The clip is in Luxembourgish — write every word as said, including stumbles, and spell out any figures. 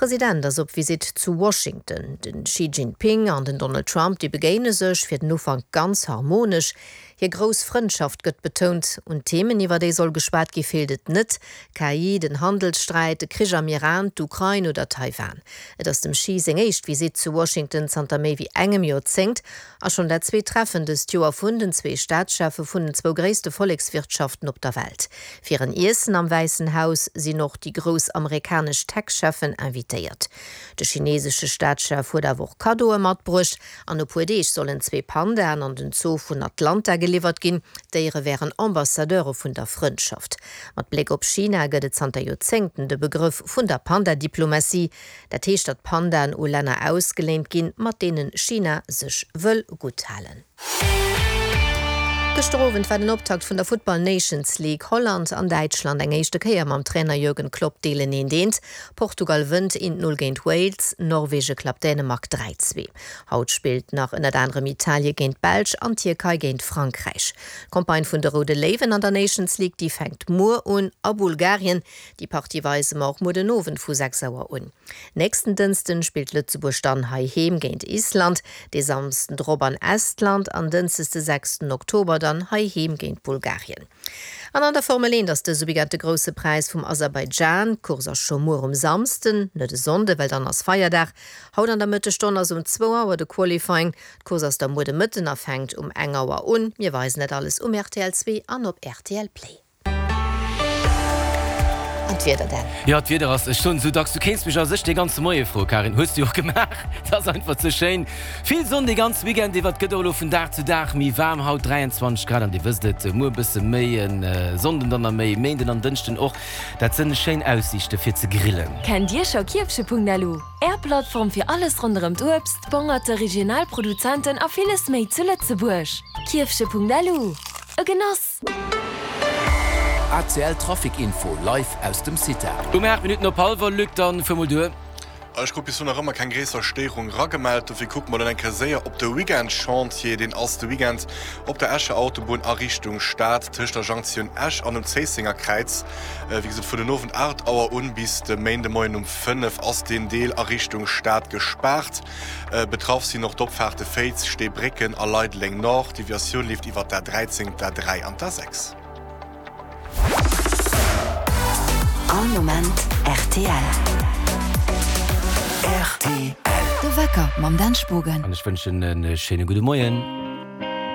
President ass op Visitt zu Washington. Den Xi Jinping an den Donald Trump, déi begéine sech fir den Ufank ganz harmonesch. Hir grouss Frëndschaft gëtt betount. Un Themen, iwwer déi soll geschwat gi feelt et net, K I, den Handelssträit, de Krich am Iran, d'Ukrain oder Taiwan. Et ass dem Xi seng éischt Visitt zu Washington zanter méi wéi engem Joerzéngt a schonn dat zweet Treffen dëst Joer vun den zwee Staatscheffe vun den zwou gréisste Vollekswirtschaften op der Welt. Fir en Iessen am Wäissen Haus sinn och déi grouss amerikanesch Tech-Cheffen invitéiert. De chinesesche Staatschef huet awer och Kaddoe matbruecht. An e puer Deeg sollen zwee Pandaen an den Zoo vun Atlanta geliwwert ginn. D'Déiere wären Ambassadeure vun der Frëndschaft. Mat Bléck op China gëtt et zanter Joerzéngten de Begrëff vun der Panda-Diplomatie. Dat heescht, datt Pandaen u Länner ausgeléint ginn, mat deene China sech wëll gutt halen. Gëschter Owend war den Optakt vun der Futtball Nations League. Holland an Däitschland, eng éischte Kéier mam Trainer Jürgen Klopp, deelen eent eent. Portugal wënnt eent Null géint Wales, Norwege klappt Dänemark dräi zwee. Haut spillt nach ënnert anerem Italie géint d'Belsch an d'Tierkei géint Frankräich. D'Campagne vun de Roude Léiwen an der Nations League, déi fänkt muer un a Bulgarien. Déi Partie weise mer och muer den Owend vu sechs Auer un. Nächsten Dënsten spillt Lëtzebuerg dann heiheem géint Island, dee Samsden drop an Estland an Dënschdes de sechsten Oktober dann heiheem géint Bulgarien. An an der Formel eent ass dëse Weekend de Grousse Präis vum Aserbaidschan. D'Course ass scho muer um Samsden, net e Sonnde well dann ass Feierdag. Haut an der Mëttesstonn ass um zwou Auer de Qualifying. D'Course ass da muer de Mëtten a fänkt um eng Auer un. Mir weisen dat alles um R T L zwee an op R T L Play. An d'Wieder dann? Jo, d'Wieder ass, ech soen esou dacks, du kéints mech a sech dee ganze Moie froen, Karin, hues du jo och gemaach, et ass einfach ze schéin. Vill Sonn dee ganze Weekend iwwer, et gëtt och elo vun Dag zu Dag méi waarm, haut dräianzwanzeg Grad an Dir wësst et, muer e bësse méi, e Sonnden dann nach méi, Méinden an Dënschden och. Dat sënn schéin Aussiichte fir ze grillen. Kennt Dir scho Kierfche Punkt L U? Är Plattform fir alles ronderëm d'Uebst, d'Bongerte, regional Produzenten a villes méi zu Lëtzebuerg. Kierfche Punkt L U, e Genoss! A C L Trafic Info live aus dem CITA. Um aacht Minutten op hallwer, Luc, dann fuer mol duer. Ech krut bis elo nach ëmmer keng gréisser Stéierung ragemellt, dofir kucke mer dann eng Kéier séier op de Weekend-Chantier. Deen ass de Weekend op der Escher Autobunn a Richtung Stad tëscht der Jonktioun Esch an dem Zéissenger Kräiz. Wéi gesot, vun den Owend aacht Auer un bis de Méindemoien um fënnef ass deen Deel a Richtung Stad gespaart. Betraff sinn och d'Opfaarte Féiz, Steebrécken a Leideleng Nord. D'Deviatioun leeft iwwer d'A dräizéng, d'A dräi an d'A sechs All Moment R T L. R T L. De Wecker mam Dan Spogen. An ech wënschen e schéine gudde Moien.